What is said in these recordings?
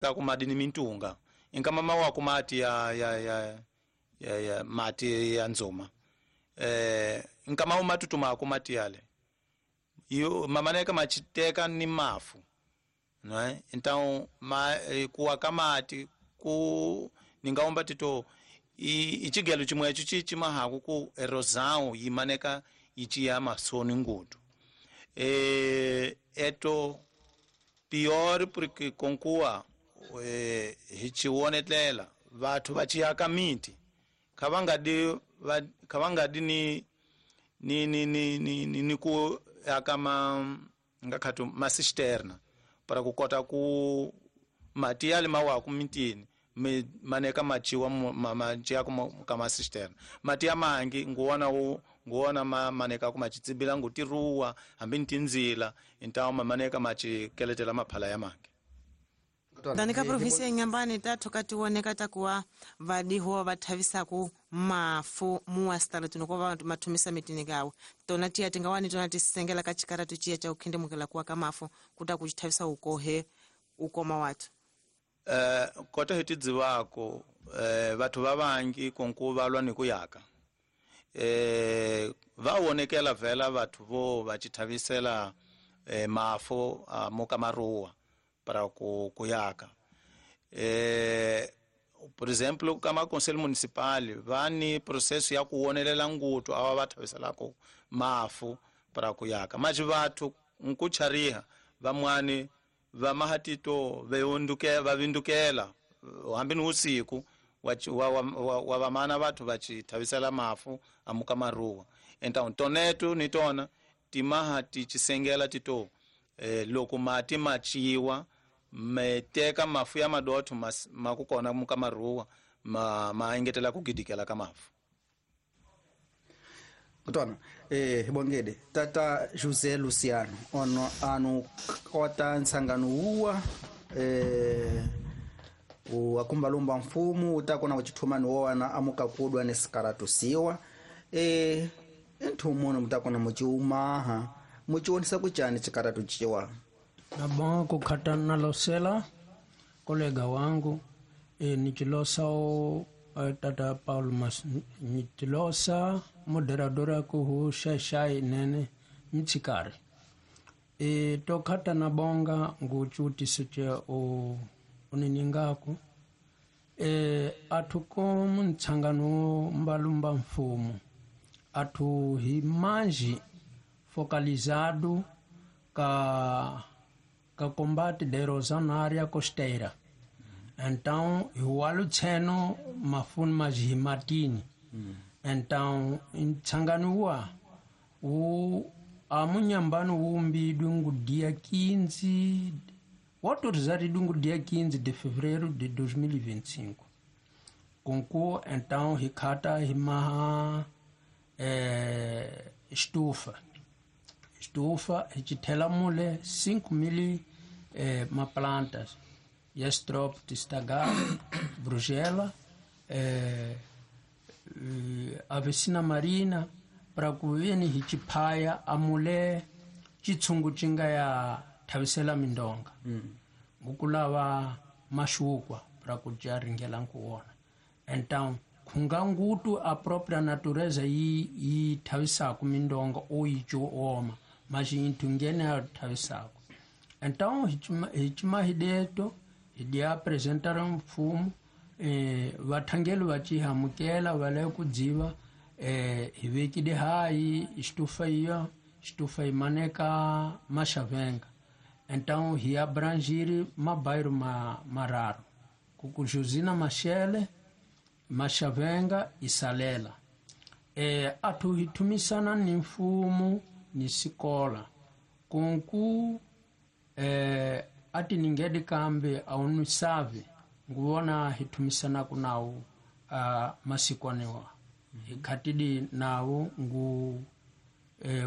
Ku madi ni mintunga inkama mawaku mati ya ya ya ya, ya mati ya nzuma nkama umatutumaku mati yale yo mamaneka machiteka ni mafu, né? Então ma, kuwa ka mati ku ningaomba tito ichigelo chimwe echo chimahaku ku erosão yimaneka ichiya masoni ngutu eto pior porque konkuwa hichiwonetlela vathu vachiyaka miti khavangadi ni ku aka ma ngakhatu masisterna para ku kota ku mati yale mawaku mitini maneka machiwa machiya ka masisterna mati ya mangi nguwona nguwona maneka ku machitsibila ngutiruwa hambi ni tindzila então mamaneka machikeletela maphala ya mangi. Dani ka provinsi ya Inhambane tathu katiwoneka takuwa vadiho vathavisaku mafu muwasitala tuno kuva mathumisa mitini kawo tona tiya tingawani tona tisengela ka chikaratu chiya cha ukhindimukela kuwa ka mafu kuta kuchithavisa ukohe ukoma wathu. Kota hi tidzivako vathu va vangi konku va lwa ni ku yaka va wonekela vhela vathu vo va chithavisela mafu muka maruwa para ku yaka. Por exemplo, kama conselho municipal va ni processo ya ku wonelela ngutu ava va thaviselako mafu para ku yaka mas vathu nkuchariha vamwani va mahatito va vindukela hambi ni usiku wa vamana vathu va chithavisela mafu amuka maruwa. Então tonetu ni tona timaha tichisengela tito loko mati machiwa meteka mafu ya madotho makukona muka maruwa ma engetela kugidikela ka mafu. Kutwana hibongede tata José Luciano ono anu kota nsangano uwa wakumbalumba mfumu utakona kuchithumani wowana amukakudwa ni sikaratusiwa nthu muno mutakona muchiumaha muchionesa kuchani chikaratu chiwa. Nabonga kukhata nalosela kolega wangu nichilosa tata Paulo Mas nichilosa moderadora kuhu shashai nene mtsikari tokhata nabonga nguchutisiche uniningaku athu ko muntsangano mbalumba mfumu athu himanji focalizado ka combate da erosão na área costeira. Então, o tseno mafuni majimatini. Então, ntsanganuwa o amunyambano umbi dungu dia 15, o autorizado dungu dia 15 de fevereiro de 2025. Concor, então, ricata rimaha estufa. Estufa, a mule 5.000 ma plantas. Yestrop, Tistagar, Brugela, Avicina Marina, para kuveni hichipaya a mulher chitsungu chinga ya thavisela mindonga. Ngukulava mashukwa para kujaringela nkuona. Então, kungangutu a própria natureza yi thavisaku mindonga ou icho oma, mas intungene a thavisaku. Então, hichimahideto idi apresentaram mfumo vathangeli va chihamukela va le ku dziva hi vekile hayi estufa iyo estufa imaneka maxavenga. Então hi abrangir mabairro mararo kukujuzina Machele Maxavenga e Salela. Athu hi thumisana ni mfumo ni sikola kunku ati ningedi kambe aunisave nguona hithumisana kunawo masikwanewa hikhatidi nawo ngu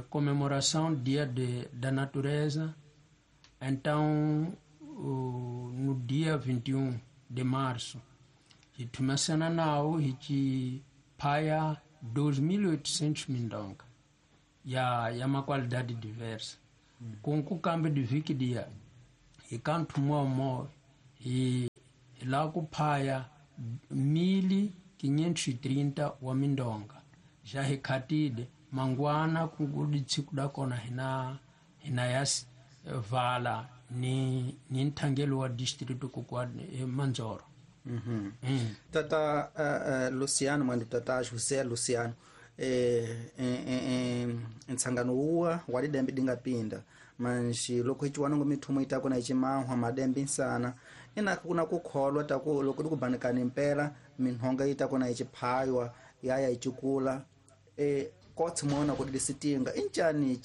comemoração dia da natureza. Então no dia 21 de março hithumisana nawo hichiphaya 2.800 mindonga ya ma qualidade diversa. Kunku kambe de viki dia hikantu mwa Hi la ku phaya 1530 wa mindonga ja hi khatile mangwana ku tsiku da kona hina ya vala ni nthangelo wa district ku kwa Manzoro. Tata Luciano mwendo tata José Luciano ntsangano uwa wa lidembe dingapinda manji loko hichiwana ngo mithumo itako na ichimahwa madembe insana ina kuna kukholwa taku loko dikubanikana impela minhonga itako na ichiphaywa yaya ichikula kotsi muona kuti disitinga inchani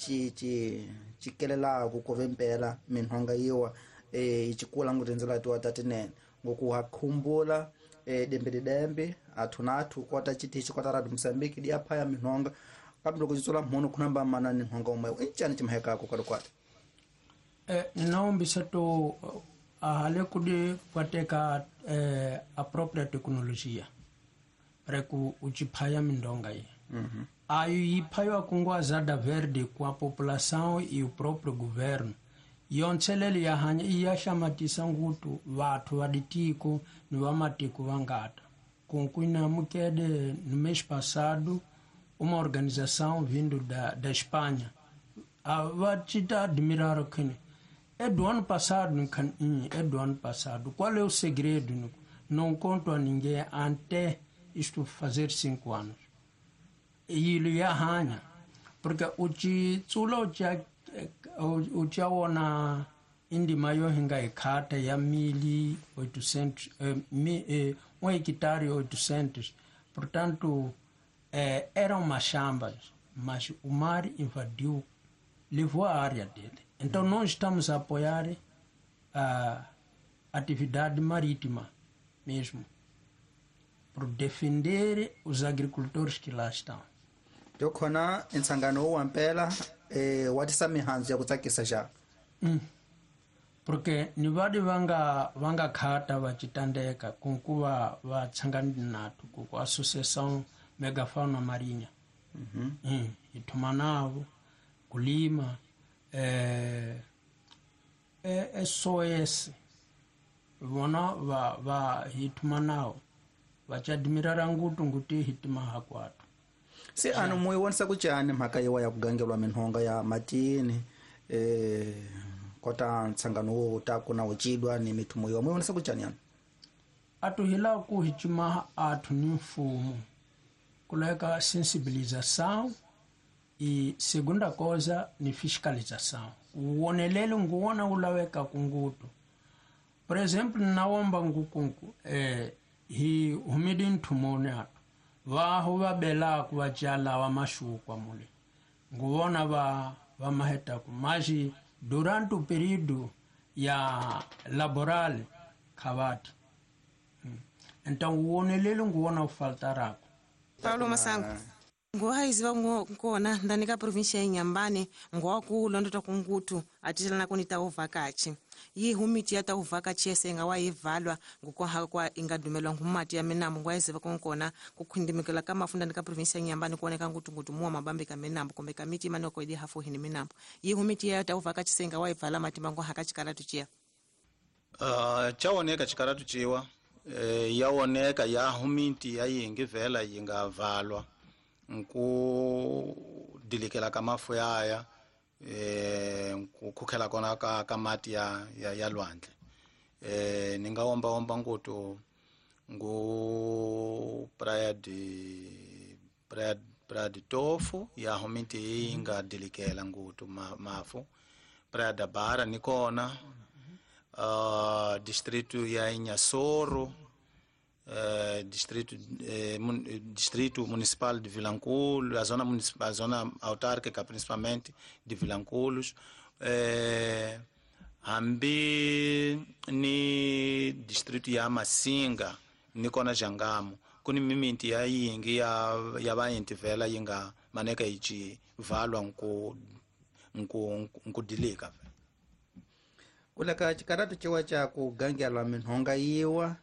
chikelelaku kuve mpela minhonga iwa ichikula ngutinzela tiwa tatinene ngokuhakhumbula dembe didembe athu na athu kota chitichi kota radio Moçambique diaphaya minhonga kambe loko chitsula mhunu khunamba mana ni nhonga umwewo inchani chimahekako kwalikwati. Naombisa to ahale kudi kwateka a própria tecnologia para ku uchiphaya mindonga iyi. Ayo yiphaywa kungwazada verde com a população e o próprio governo. Yontshelelo ya hanya iya hlamatisa ngutu vathu va ditiko ni va matiko vangata. Kunkwina mukede no mês passado uma organização vindo da Espanha va te admirar que é do ano passado, é do ano passado. Qual é o segredo? Não conto a ninguém até isto fazer 5 anos. E ele ia arranha, porque o tsulo o tchaona indima yo hinga ikhata ya 1800, 1 hectare 800. Portanto, eram machambas, mas o mar invadiu, levou a área dele. Então nós estamos a apoiar a atividade marítima mesmo, por defender os agricultores que lá estão. Tokhona nsangano wa mpela watisa mihanzu ya kutsakisa ja. Porque ni vadi vanga khata vachitandeka kunkuva va tsangani nathu ku associação megafauna marinha. Ithoma navo kulima SOS vona va hithoma navo vachadmirara ngutu nguti hitima hakwatu. Se ano moyo wonisa kuchani mhaka yiwa ya kugangelwa minhonga ya matini kota ntsangano wo taku na uchidwa ni mithumo yiwa moyo wonisa kuchani ano atuhila ku hichima athu ni mfumo kuleka sensibilização e segunda coisa ni fiscalização. Uonelelo nguona ulaweka kungutu. Por exemplo, naomba ngukunku hi humidi nthumone atu vaho vabela kuvachala wa mashukwa mule nguona va mahetaku maji durante o período ya laboral khavati. Então uonelelo nguona ufaltarako. Paulo Masango ngohaiziva nkona ndani ka província ya Inhambane ngowakulondota kungutu atichelana kuni tauvakachi yi humiti ya tauvakachi yese ingawa yivalwa ngukoha kwa ingadumelwa ngumati ya minambo ngohaiziva kunkona kukhindimikela ka mafu ndani ka província ya Inhambane kuoneka ngutungutu muwa mabambi ka minambo kumbe ka miti imane okoidi hafuhi ni minambo yi humiti ya tauvakachi se ingawa yivala matimba ngoha ka chikaratu chiya. Chaoneka chikaratu chiwa yaoneka ya humiti ya yingi vela yingavalwa nku dilikela ka mafu yaya nku khukhela kona ka mati ya lwandle ni nga omba omba ngutu ngu praia de Tofu ya humiti yinga dilikela ngutu mafu praia da Bara ni kona distrito ya Inhassoro, distrito municipal de Vilanculo, a zona autárquica principalmente de Vilanculos, hambi ni distrito ya Massinga ni kona Jangamo kuni mimiti ya yingi ya vainti vela yinga maneka ichi valwa nku dilika. Kuleka chikaratu chiwa cha kugangela minhonga yiwa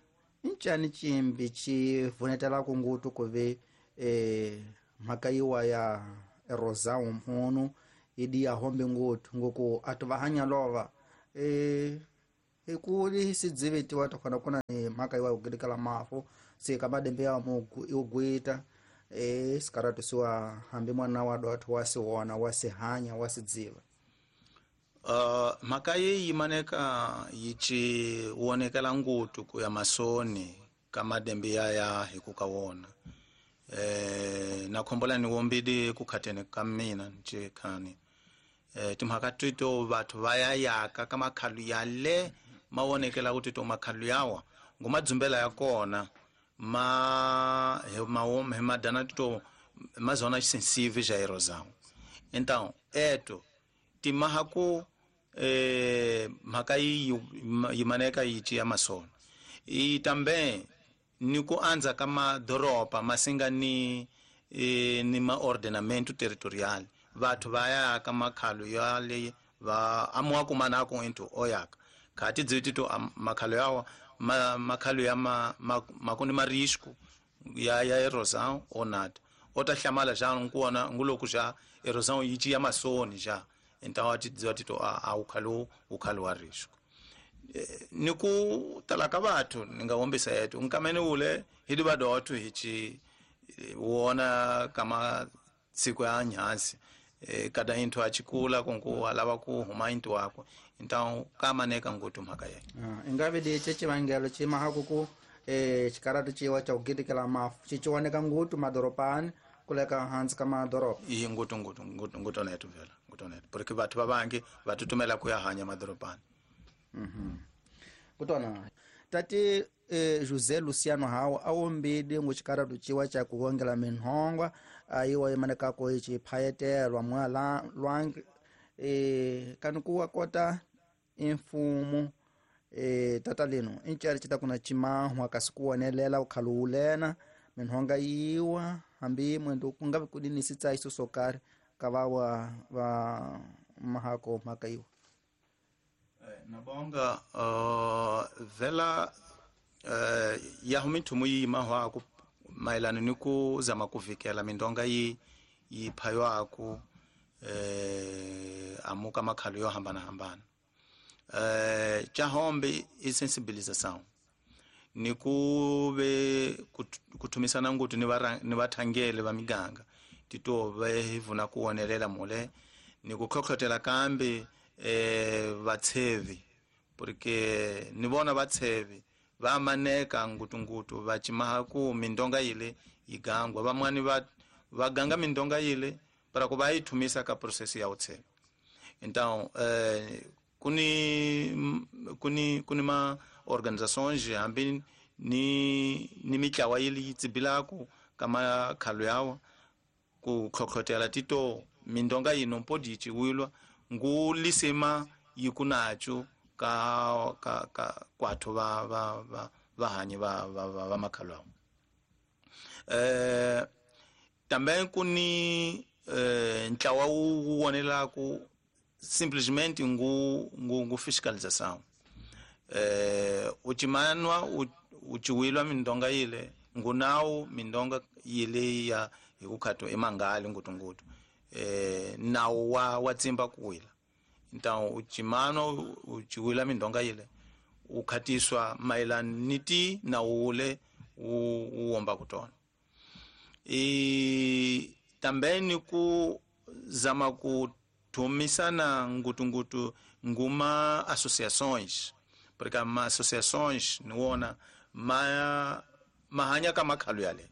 nchani chimbi chivunetela kungutu kuve mhaka yiwa ya erosão mhunu idi ya hombe ngutu ngoku atu vahanya lova Hikuli sidzivitiwa takhona kuna ni mhaka iwa kugilikala mafu sika madembe ya mugu iugwita sikaratu siwa hambi mwana wa dotho wasiwona wasihanya wasidziva. Mhaka yi yimaneka yi ci wonekela ngutu ku ya masoni ka madembe ya hi ku ka wona. Na khombola ni wombidi ku khateni ka mina nce khani. Timhaka tito vathu va ya yaka ka makhalu ya le ma wonekela ku tito makhalu yawa ngumadzumbela ya kona ma hi madana tito ma zona sensive ja erosão. Então eto timaha ku mhaka yi yimaneka yi ci ya masona. E também ni ku andza ka madoroba masinga ni ni maordenamento territorial. Vathu va ya ka makhalu ya le va amuwa kumana ku into oyaka khati dziti to makhalu yawa makhalu ya makuni ma risco ya erosão ou nada. Ota hlamala já nkuona nguloku já erosão yi ci ya masoni já. Então a ti to a ukhalu wa risco. Ni ku tala ka vathu ni nga wombisa yetu nkamene ule hi di vadothu hi ci wona kama siku ya nyansi kada inthu achikula kunku alava ku huma inthu wakwe. Então kamaneka ngutu mhaka ye. Ingabe di chechivangelo chimahaku ku chikaratu chiwa cha kugilikela mafu chichiwoneka ngutu madoropani kuleka hansi ka madoropa. Iyi ngutu ngutu ngutu ngutu netu vela ngutu netu porque vathu vavangi vatutumela ku ya hanya madoropani. Kutona tati José Luciano Hawa awombidi nguchikaratu chiwa cha kuwongela minhongwa ayiwa imanekako ichi phayetelwa mwa lwangi kanukuwa kota imfumo tata lino incari cita kuna chimahwa kasi kuwonelela ukhalu ulena minhonga yiwa hambi mwendo kungavi kudini sitsaiso sokari kavawa va mahako mhaka iwa. Nabonga vela yahu minthumu yi mahwaku mayelana ni ku zama ku vikela mindonga yi phaywaku amuka makhalu yo hambana hambana. Chahombe i sensibilização ni ku ve kuthumisana ngutu ni vathangeli va miganga tito ve hi vuna ku wonelela mule ni ku tlhotlhotela kambe vatsevi porque ni vona vatsevi va maneka ngutungutu va chimaha ku mindonga yile yigangwa vamwani va ganga mindonga yile para ku va yi thumisa ka process ya utsevi. Então kuni ma organizações hambi ni mitlawa yile yi tsibilaku ka makhalu yawa ku tlhotlhotela tito mindonga yino mpodi yi ciwilwa ngu lisima yikunacho ka ka ka kwathu va va va vahanyi va va va makhalu awo. Também kuni ntlawa wu wonelaku simplesmente ngu fiscalização. Uchimanwa uchiwilwa mindonga yile ngunawu mindonga yile ya hikukhato emangali ngutungutu nawu wa tsimba kuwila. Então uchimanwa uchiwila mindonga yile ukhatiswa mayelana ni ti nawu ule uwomba kutona. Também ni ku zama kuthumisana ngutungutu nguma associações porque ma associações niwona mahanya ka makhalu yale.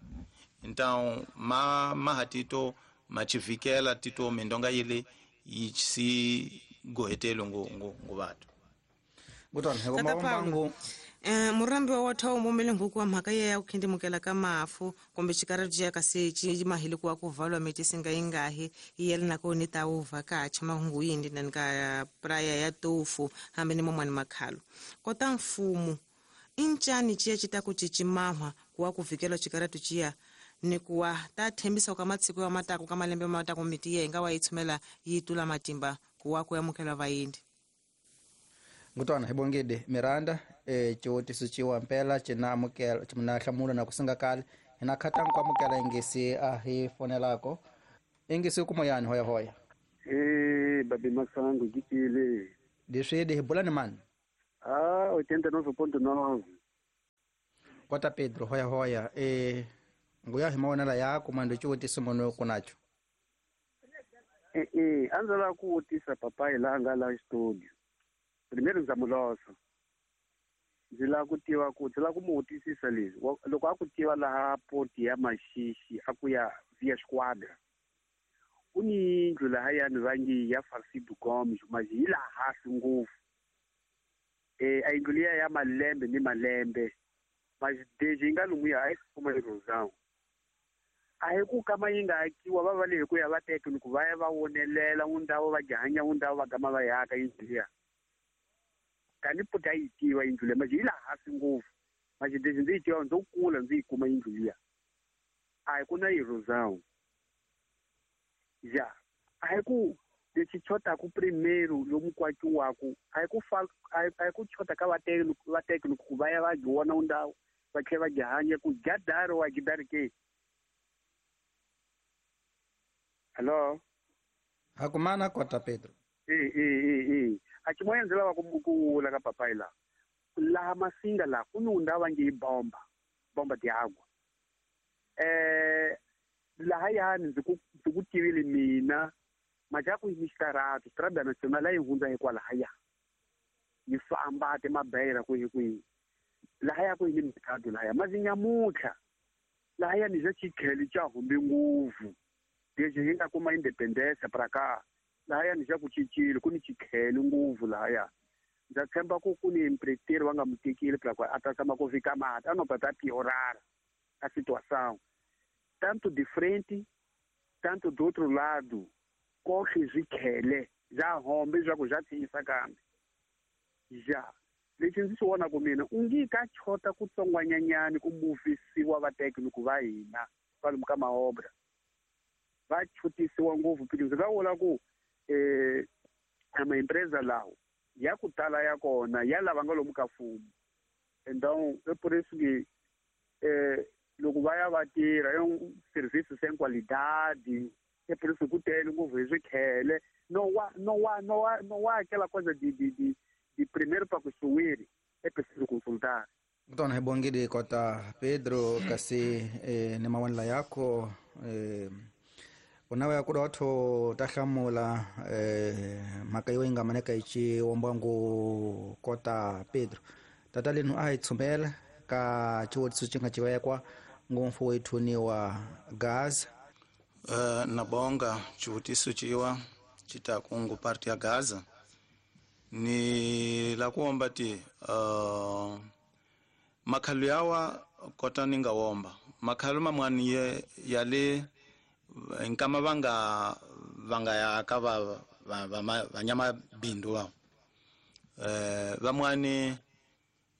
Então mahatito machivikela tito mindonga yile yi si gohetelo ngu vathu. Tata Paulo, murambi wa wotha umumele nguku wa mhaka ya kukhindimukela ka mafu kumbe xikaratu kasi ci mahili kuwa ku valwa miti singa yingahi yiyela nako ni ta wu vhakacha mahungu yindi nani ka praya ya tofu hambi ni momwani makhalu kota mfumo incani ciya ci ta ku cicimahwa kuwa ku vikela xikaratu ciya ni kuwa ta thembisa ka matsiko ya matako ka malembe matako miti ye nga wa yi tshumela yi tula matimba kuwa ku amukela vayindi. Ngutwana hibongede Miranda ciwutiso ciwa mpela cinamukela cina na kusinga kale hina khata nkwamukela ingisi a hi fonelako ingisi kumoyani hoya hoya. Babi Masango gikile leswi hi bula ni mani. Ah, 89.9. Kota Pedro hoya hoya nguya himaonela yako mando xivutiso munhu kunacho. A ndzi lava ku vutisa papayi laha nga la studio. Primeiro ndza mulosa. Ndzi lava ku tiva ku ndzi lava ku mu vutisisa leswi. Loko a ku tiva laha poti ya Maxixi a ku ya via Squadra. Ku ni yindlu lahayani va nge ya Farcido Gomes, mas yi laha hansi ngopfu. A yindlu liya ya malembe ni malembe. Mas desde yi nga lomuya a yi kuma erosão. A hi ku kama yi nga akiwa va va le hi ku ya va teka ni ku va ya va wonelela undhawu va jahanya undhawu va gama va yaka yindlu liya. Kani poti a yi tiva yindlu liya mas yi laha hansi ngopfu. Mas desde ndzi yi tiva ndzo kula ndzi yi kuma yindlu liya. A hi ku na erosão. Já, a hi ku lexi chotaku primeiro lomu ku akiwaku a hi ku a hi ku chota ka vatekni ku va ya va vona undhawu va tlhela va jahanya ku jadaro wa gidari ke. Hello. Hakumana Kota Pedro. A ximoya ndzi lava ku vula ka papayi laha. Laha Masinga laha ku ni undhawu va nge yi bomba de água. Lahayani ndzi ku tivile mina majaku yi ni xikaratu Strada Nacional a yi hundza hikwalahaya yi famba timabeyira kwihi kwihi lahaya ku yi ni mercado lahaya mas nyamuntlha lahaya ni xa xikhele xa humbe ngopfu lexi hi nga kuma independence pra ka lahaya ni xa ku cincile ku ni xikhele ngopfu lahaya ndza tshemba ku ku ni empreteiro va nga mu tekile pra ku a ta tshama ku fika mati a no ta piorar a situação tanto de frente tanto do outro lado kohle swikhele bya hombe swa ku bya tiyisa kambe ja lexi ndzi swi vonaku mina u nge ka chota ku tsongwanyanyani ku muvisiwa vatekniki va hina kwalomu ka maobra va chutisiwa ngopfu because ndzi nga vula ku amaempresa lawo ya ku tala ya kona ya lava nga lomu ka mfumo então é por isso que loko va ya va tirha é um serviço sem qualidade é por isso ku tele ngopfu hi swikhele no wa aquela coisa de primeiro para construir é preciso consultar. Tona hi bongile Kota Pedro kasi ni mawandla yako unawe ya kudotho ta hlamula mhaka yo yi nga maneka yi ciwombangu Kota Pedro tata lenu a hi tshumela ka xivutiso xi nga civekwa ngopfu wethuniwa Gaza. Nabonga xivutiso ciwa xi ta kungu parti ya Gaza ni la kuomba ti makhalu yawa kota ni nga womba makhalu mamwani ya le nkama vanga ya ka va vanyama bindu va vamwani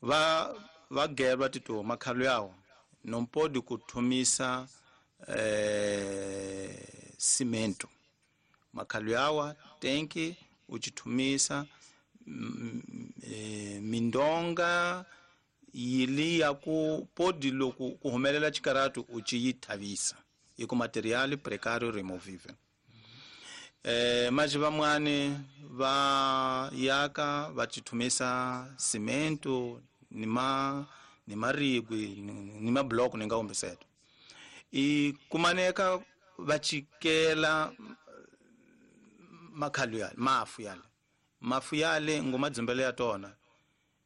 va gelwa tito makhalu yawa nompodi kuthumisa cimento makhalu yawa tenki uchithumisa mindonga yili ya ku podi loku ku humelela xikaratu u ci yi thavisa hi ku material precario removive. Mas vamwani va yaka va chithumisa cimento ni marigwi ni mabloko ni nga humbeseto i kumaneka va chikela makhalu yale mafu yale ngoma dzumbele ya tona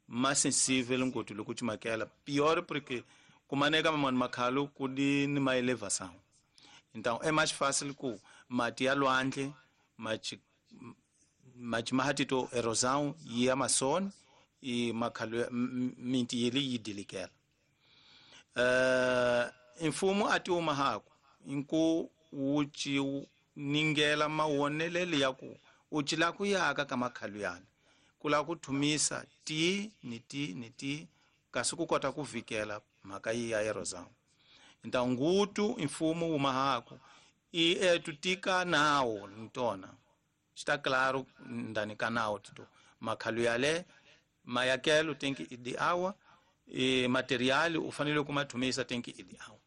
ma sensible ngoti loko chimakela pior porque kumaneka mamani makhalu kudi ni ma elevação então é mais fácil ku mati ya lwandle machi mahatito erosão ya mason e makhalu minti yeli yidilikela mfumo ati umahaku nku wuchi ningela mawonelele ya ku uchi la ku yaka ka makhalu yana kula ku thumisa ti ni ti ni ti kasi ku kota ku vikela mhaka yi ya erosão então ngutu mfumo umahaku e etutika nawo ntona está claro ndani kanao tito makhalu yale mayakelo tenki idi awa e material ufanele kumathumisa tenki idi awa.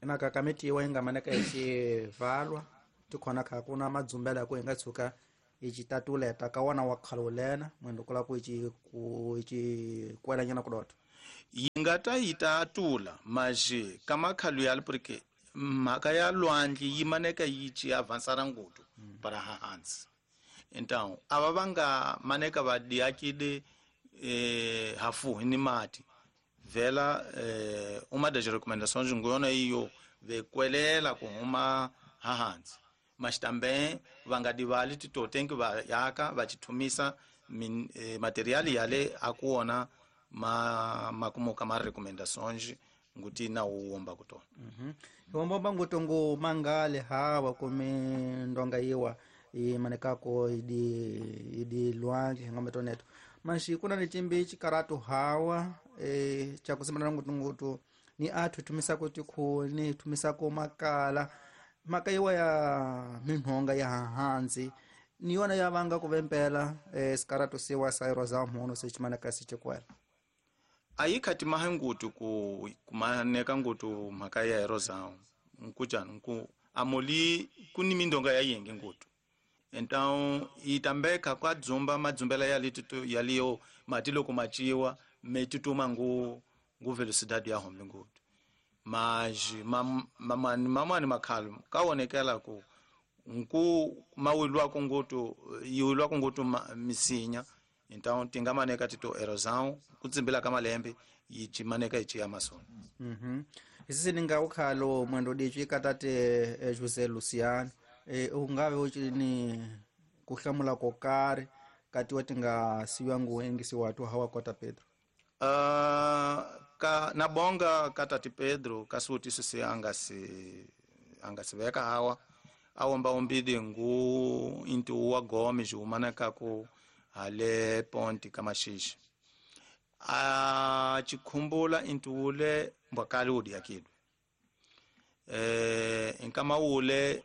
Emhaka ka mitiwa yi nga maneka hi xivalwa tikhona kha ku na madzumbela ku hi nga tshuka Ichitatuleta ka wana wa khalulena mwendo kula ku ichi ku ichi kwelanyana kudoto yi nga ta yi ta tula maje ka makhalu yali porque mhaka ya lwandle yi maneka yi ci avançara ngutu para hansi. Então ava va nga maneka va diakide hafuhi ni mati vela uma das recomendações ngona iyo vekwelela ku huma hansi, mas também va nga divali titotenki va yaka va chithumisa material yale akuona ma makumuka ma recomendações nguti na uwomba kutona. Iwombomba nguto ngu mangale hawa kumindonga iwa imanekako idi lwandle ngometoneto manshi kuna ni chimbi chikaratu hawa chakusimana ngutu ngutu ni athu tumisako tikhuni tumisako makala maka iwa ya minhonga ya hansi ni yona ya vanga kuvempela sikaratu siwa sairo za mhono sechimaneka sichikwela. Ayikhati mahe ngutu ku kumaneka ngutu mhaka ya erosão nkujani nku amoli kuni mindonga ya yenge ngutu. Então itambeka kwa dzumba madzumbela yalitutu yaliyo mati loko machiwa metutuma ngu ngu velocidade ya hombe ngutu mas mamani mamani makhalo kaonekela ku nku mawilwa ku ngutu yiwilwa ku ngutu misinya. Então tingamaneka tito erosão kutsimbila ka malembe yichimaneka ichi Amazon. Isisi ninga ukhalo mwendo dichi katate José Luciano ungave uchini kuhlamula kokari kati watinga siwa ngu engisi watu hawa kota Pedro. Ka nabonga katati Pedro kasutiso se angasiveka hawa awomba ombidi ngu intu wa Gomes umaneka ku hale ponti kamashishi a chikhumbula intuule mbwakali udi yakidwe inkamawule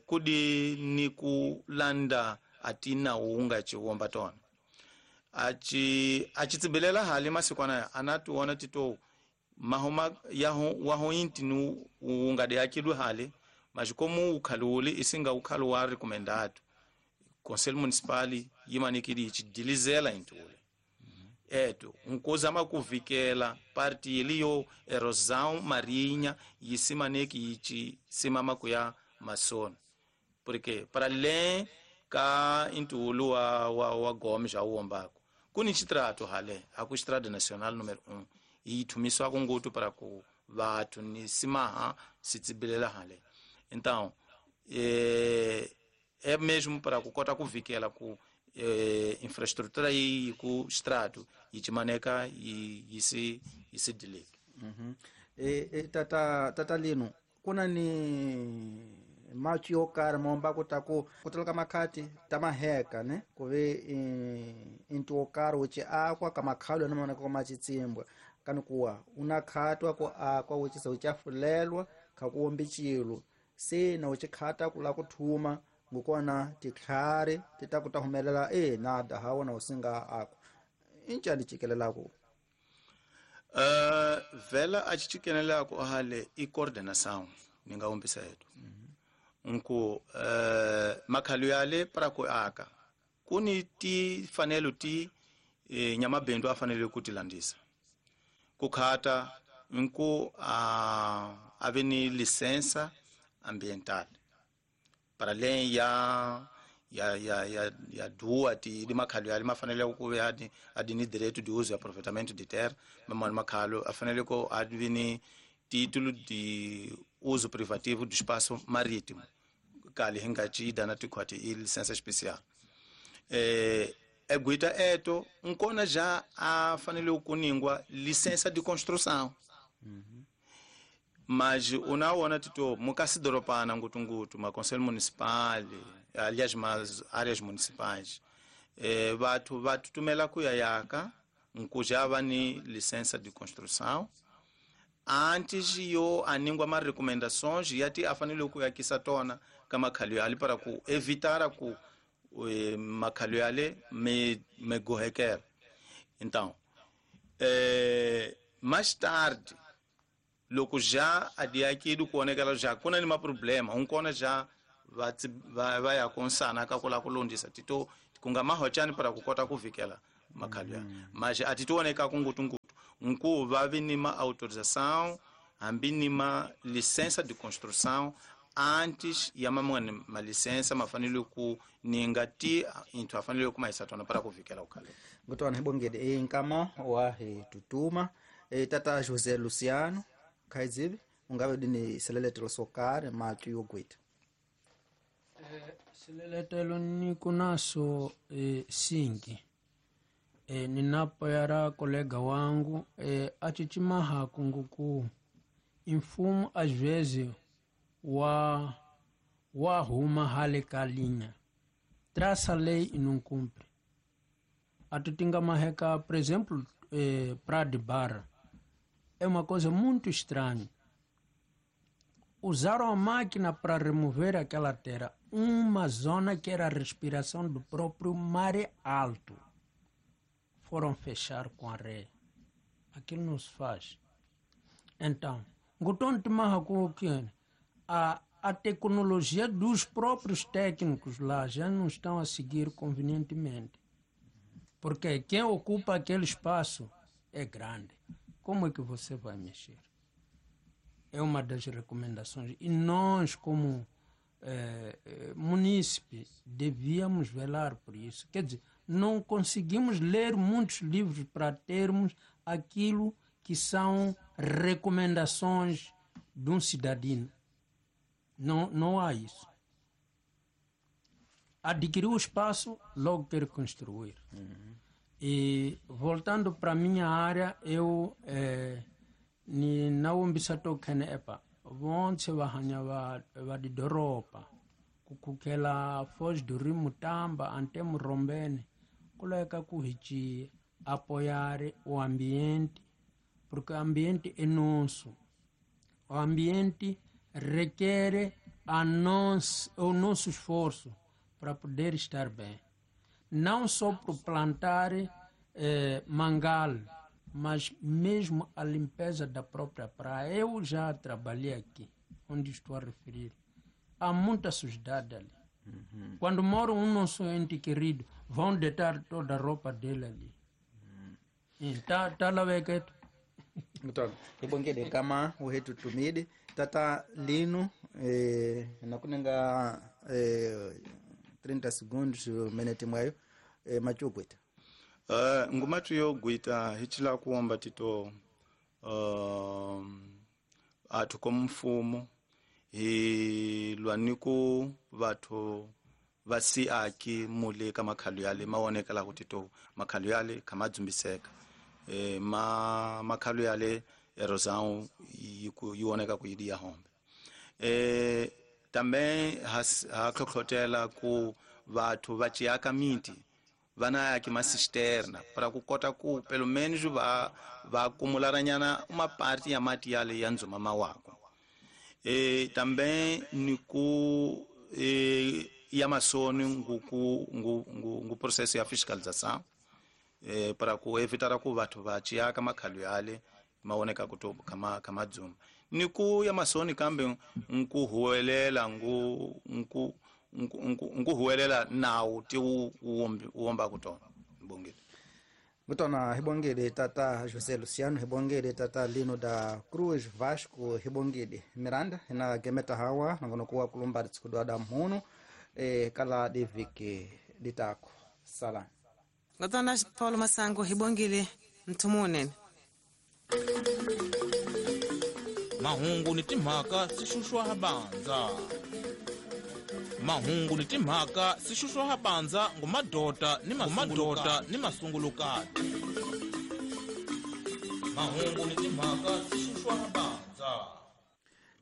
kudi ni kulanda atina uunga chiwomba tona achi achitsibelela hali masikwana anatuona tito mahoma yaho waho inti nu uunga de yakidwe hali majikomu ukhaluli isinga ukhalu wa recomendado Conselho Municipal yimanikidi ichidilizela intule eto nkozama kuvikela parti iliyo erosão marinha yisimaneki ichi simama kuya masona porque para além ka intulu wa Gomes auombako kuni chitrato hale aku estrada nacional número 1 ithumiswa kungutu para ku vathu ni simaha sitsibilela hale. Então é mesmo para kukota kuvikela ku infraestrutura yi ku strato yichimaneka yisi yisidileke. Tata lino kuna ni machi yokari momba kutaku kutalaka makhati tamaheka ne kuve intu wokari uchi akwa kamakhalo namaoneka kwamachitsimbwa kani kuwa unakhatwa ku akwa uchisa uchafulelwa khakuwombi chilu sina uchikhata kula kuthuma ngukona titlhari titakuta humelela nada hawona usinga akwa inchani chikelelako. Vela achichikelelako ahale i coordenação ningawombisa yetu nku makhalu yale para ku aka kuni ti fanelo ti nyamabindu afanele kutilandisa kukhata nku ave ni licença ambiental para além ya dua ti di makhalu yale mafanele ku adi adi direito de uso e aproveitamento de terra mamani makhalu afanele ko adi ni título de uso privativo do espaço marítimo kali hingachida na tikhwati i licença especial eguita eto nkona já afanele kuningwa licença de construção. Mas unaona tito mukasidoropana ngutungutu ma conselho municipal aliás mas áreas municipais vathu vatutumela kuya yaka nkujava ni licença de construção antes yo aningwa ma recomendações yati afanele kuyakisa tona ka makhalu yale para ku evitar ku makhalu yale me gohekela. Então mais tarde loko já adiakidu kuonekela já kuna ni ma problema unkona já va ya ku nsana ka ku lava ku lunghisa tito ku nga mahochani para ku kota ku vikela makhalo ya mas a ti tioneka ku ngutungutu nku va vi ni ma autorização hambi ni ma licença de construção antes ya mamwana ma licença ma fanele ku ninga ti inthu a fanele ku mahisa tona para ku vikela ukhale. Ngutwana hibongede e nkama wa hi tutuma e tata José Luciano khaidzivi ungave dini seleletelo sokare matu yogwita. Sileletelo niko naso singi ninapoyara kolega wangu achichimaha kunguku imfumo às vezes wa huma hale kalinha traça lei e não cumpre. Atutinga maheka, por exemplo, Praia de Barra é uma coisa muito estranha. Usaram a máquina para remover aquela terra, uma zona que era a respiração do próprio mar alto. Foram fechar com areia. Aquilo não se faz. Então, a tecnologia dos próprios técnicos lá já não estão a seguir convenientemente. Porque quem ocupa aquele espaço é grande. Como é que você vai mexer? É uma das recomendações. E nós, como munícipes, devíamos velar por isso. Quer dizer, não conseguimos ler muitos livros para termos aquilo que são recomendações de um cidadão. Não, não há isso. Adquiriu o espaço, logo quer construir. Uhum. E voltando para a minha área, eu ni nawumbisa to khene epa vonse va hanya va didoropa kukukela Foz do Rio Mutamba ante Murombene kuleka ku hichi apoiar o ambiente, porque o ambiente é nosso. O ambiente requer a nós, o nosso esforço para poder estar bem. Não só por plantar mangal, mas mesmo a limpeza da própria praia. Eu já trabalhei aqui, onde estou a referir. Há muita sujidade ali. Uhum. Quando mora um nosso ente querido, vão deitar toda a roupa dele ali. Uhum. Tá lá veketo. Então, ibongede kama uhetu tumide tata lino nakunenga 30 segundos minute mwayo machugwita. Ngumatu yogwita hichila kuomba tito athu komfumo hi lwaniku vathu va siaki mule ka makhalo yale maonekela ku tito makhalo yale khamadzumbiseka ma makhalo yale erosão yi oneka ku yidi ya hombe também ha tlhotlhotela ku vathu va ciaka miti vana yaki masisterna para ku kota ku pelo menos va acumularanyana uma parte ya mati yale ya ndzuma mawako também ni ku ya masoni ngu processo ya fiscalização para ku evitar ku vathu va ciaka makhalo yale maoneka ku to kama kama dzuma ni ku ya masoni kambe nku huwelela ngu nku huwelela nawu ti wu womba kutona bongile. Ngutona hibongile tata José Luciano, hibongile tata Lino da Cruz Vasco, hibongile Miranda na gemeta hawa nangonokuwa kulumba tsikudwada mhunu kala diviki ditako sala. Ngutona Paulo Masango hibongile mthumunene. Mahungu ni timhaka swi xuxwa banza. Mahungu ni timhaka swi xuxwa banza ngumadota ni mamadota ni masungulukati. Mahungu ni timhaka swi xuxwa banza.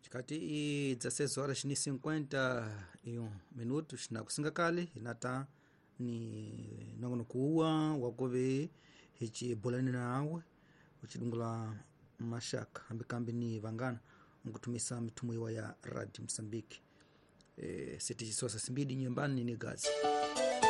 Chikati i 16 horas ni 51 minutos na kusinga kale hinata ni nongonokuwa wakuve hichibulani nawe uchidungula mashaka hambikambi ni vangana nkutumisa mitumo iwa ya Radio Msambiki. Siti chisosa simbidi nyumbani ni gazi.